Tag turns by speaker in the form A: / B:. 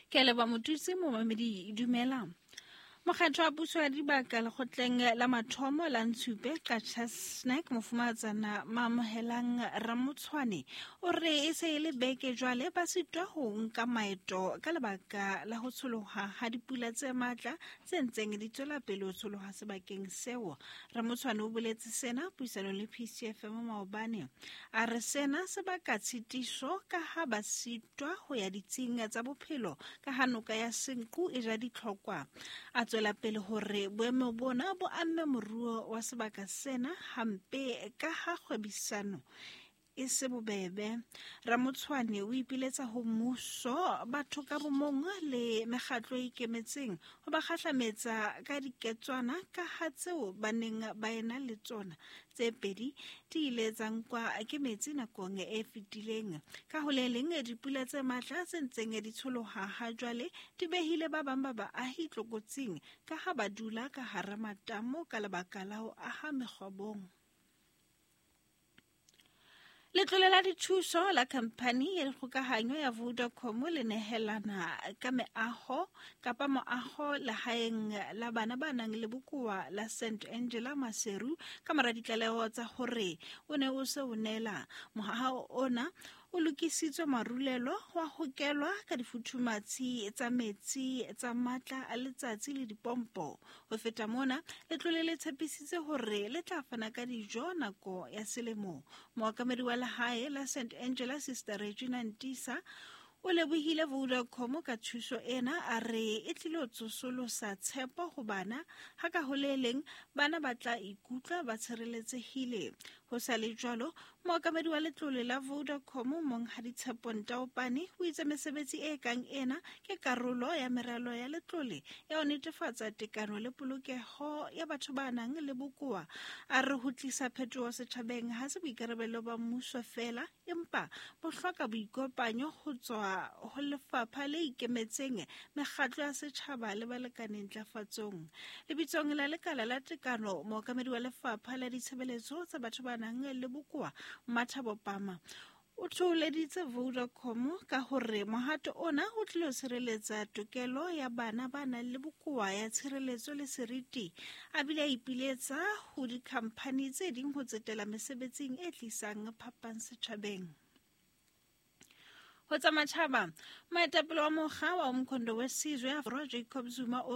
A: Ke a leboha Motutsi momamedi dumela. Mokgatho wa puso ya dibaka lekgotleng la mathomo la Ntshupe Qacha Snack mofumahatsana Maamohelang Ramotshwane o re e se e le beke jwale ba sitwa ho nka maeto ka lebaka la ho tsholoha ha dipula tse matla tse ntseng di tswela pele ho tsholoha sebakeng seo. Ramotshwane o boletse sena puisanong le PCFM maobane. A re sena se baka tshitiso ka ha ba sitwa ho ya ditsing tsa bophelo ka ha noka ya Senqu e ja ditlhokwa. A tswela pele hore boemo bona bo amme moruo wa sebaka sena hampe ka ha kgwebisano e se bobebe. Ramotshwane o ipiletsa ho mmuso, batho ka bomong le mekgatlo e ikemetseng ho ba kgahlametsa ka diketswana ka ha tseo ba neng ba ena le tsona tse pedi di ile tsa nkwa ke metsi nakong e fetileng. Ka ho le leng, dipula tse matla tse ntseng di tsholoha ha jwale di behile ba bang ba baahi tlokotsing ka ha ba dula ka hara matamo ka lebaka la ho aha mekgwabong. Letlole la dithuso la khamphani ya dikgokahanyo ya Vodacom le nehelana ka meaho kapa moaho lehaeng la bana ba nang le bokowa la St Angela Maseru ka mora ditlaleho tsa hore o ne o se o neela. Mohaho ona o lokisitswe marulelo wa hokelwa ka difuthumatshi tsa metsi tsa matla a letsatsi le dipompo. Ho feta mona, letlole le tshepisitse hore le tla fana ka dijo nako ya selemo. Mookamedi wa lehae la St Angela Sister Regina Ntisa o lebohile Vodacom ka thuso ena, a re e tlilo tsosolosa tshepo ho bana, ha ka ho le leng bana ba tla ikutlwa ba tshireletsehile. Ho sa le jwalo, mookamedi wa letlole la Vodacom Monghadi Tshepo Ntaopane o itse mesebetsi e kang ena ke karolo ya meralo ya letlole ya ho netefatsa tekano le polokeho ya batho ba nang le bokowa. A re ho tlisa phetoho setjhabeng ha se boikarabelo ba mmuso feela, empa bo hloka boikopanyo ho tswa ho lefapha le ikemetseng, mekgatlo ya setjhaba le balekane ntlafatsong. Lebitsong la lekala la tekano, mookamedi wa lefapha la ditshebeletso tsa batho ba nang le bokowa, Mathabo Pama, o thoholeditse Vodacom ka hore mohato ona o tlilo tshireletsa tokelo ya bana ba nang le bokowa ya tshireletso le seriti, a bile a ipiletsa ho dikhamphani tse ding ho tsetela mesebetsing e tlisang phapang setjhabeng. Ho tsa matjhaba, moetapele wa mokga wa Umkhonto we Sizwe Borwa Jacob Zuma o re